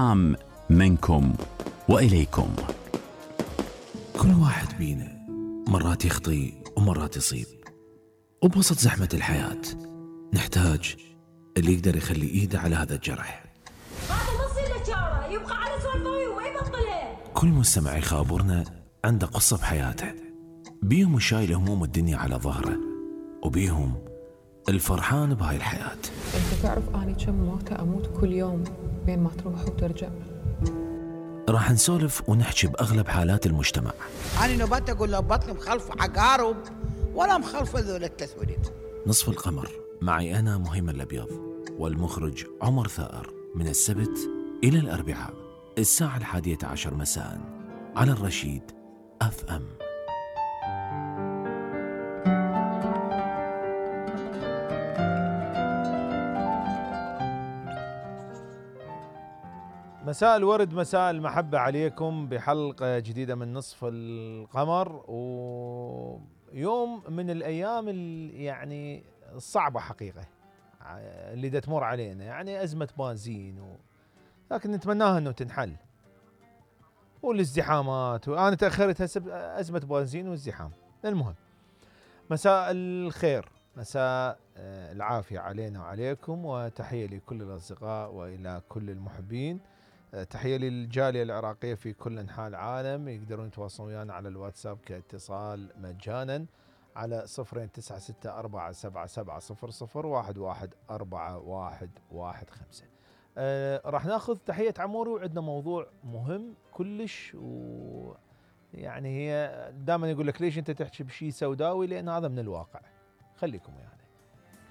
السلام منكم وإليكم. كل واحد بينا مرات يخطي ومرات يصيب، وبوسط زحمة الحياة نحتاج اللي يقدر يخلي ايده على هذا الجرح. هذا نص الاشاره يبقى على سوالفه وما يبطلها. كل مستمع يخابرنا عنده قصة بحياته، بيهم شايل هموم الدنيا على ظهره، وبيهم الفرحان بهاي الحياة. انت تعرف اني كم موتة اموت كل يوم بين ما تروح وترجع. راح نسولف ونحكي بأغلب حالات المجتمع. أنا نبات أقول له بطني مخلف عقارب ولا مخلف ذول التسوليد. نصف القمر معي أنا مهيمن الأبيض والمخرج عمر ثائر، من السبت إلى الأربعاء الساعة 11 مساء على الرشيد FM. مساء الورد، مساء المحبة عليكم بحلقة جديدة من نصف القمر، ويوم من الأيام يعني الصعبة حقيقة اللي دا تمر علينا، يعني أزمة بنزين لكن نتمناها أنه تنحل، والازدحامات، وأنا تأخرت هسه أزمة بنزين والازدحام. المهم مساء الخير، مساء العافية علينا وعليكم، وتحية لكل الأصدقاء وإلى كل المحبين. تحية للجالية العراقية في كل أنحاء العالم، يقدرون يتواصلون ويانا على الواتساب كاتصال مجانا على 02977700111415. راح ناخذ تحية عموري، وعندنا موضوع مهم كلش، ويعني هي دائما يقول لك ليش انت تحكي بشيء سوداوي، لأن هذا من الواقع. خليكم يعني.